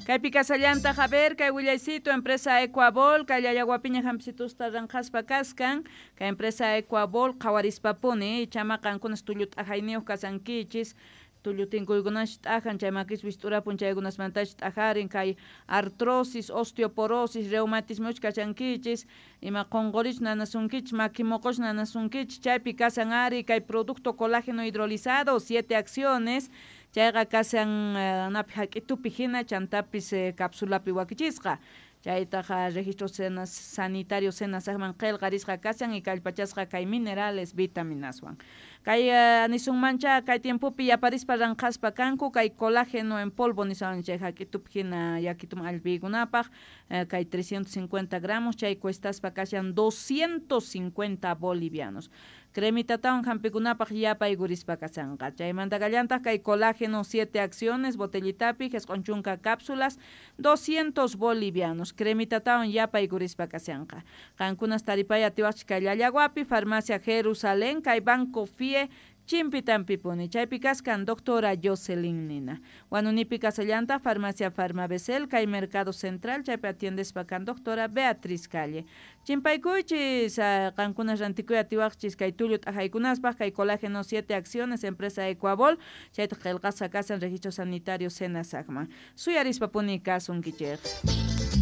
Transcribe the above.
Kaypi kasallantaq, a ver, kay willaycito, empresa Ecuabol, kay Llallaguapiña hampicitusta ranqhaspa kaskan, kay empresa Ecuabol qhawarispapuni, chama qankunas tullu t'ajayniyuq kasankichis, tullu tinkuykunash t'ajan, chay makis wist'urapun chaykunasmantash t'ajarin, kay artrosis, osteoporosis, reumatismoch kashankichis, ima qonqorich nanasunkichis, maki moqoch nanasunkichis, chaypi kasan ari kay producto colágeno hidrolizado, 7 acciones, chayqa kasan napi hak'itupi hina chantapis capsulapi wakichisqa. Chaytaqa registro sanitario SENASACman qillqarisqa kasan y kallpachasqa kay minerales vitaminaswan. Kay nisunmancha kay tiempopi yaparispa ranqhaspa kanku kay colágeno en polvo niswan chay hak'itupi hina yakituman allpiykunapaq, kay 350 gramos chay cuestaspa kashan 250 bolivianos. Cremitatawan hampikunapaq yapaykurispa kasanqa. Chaymanta kallantaq kay colágeno 7 acciones botellitapi 90 cápsulas 200 bolivianos. Cremitatawan yapaykurispa kasanqa. Qankunas taripay atiwaqchik kay Llallaguapi, Farmacia Jerusalén, kay Banco FIE Chimpitampipuni. Chaypi kaskan doctora Jocelyn Nina. Huanunipi kasallanta Farmacia Farmabesel, kay Mercado Central, chaypi atiendespa kan doctora Beatriz Calle. Chimpaykuychis, qankunas rantikuy atiwaqchis kay tullu t'ajaykunaspaq, kay colágeno 7 acciones, empresa Ecuabol, chaytaq qillqasqa kasan registro sanitario SENASACman. Suyarispapuni kasunkichik.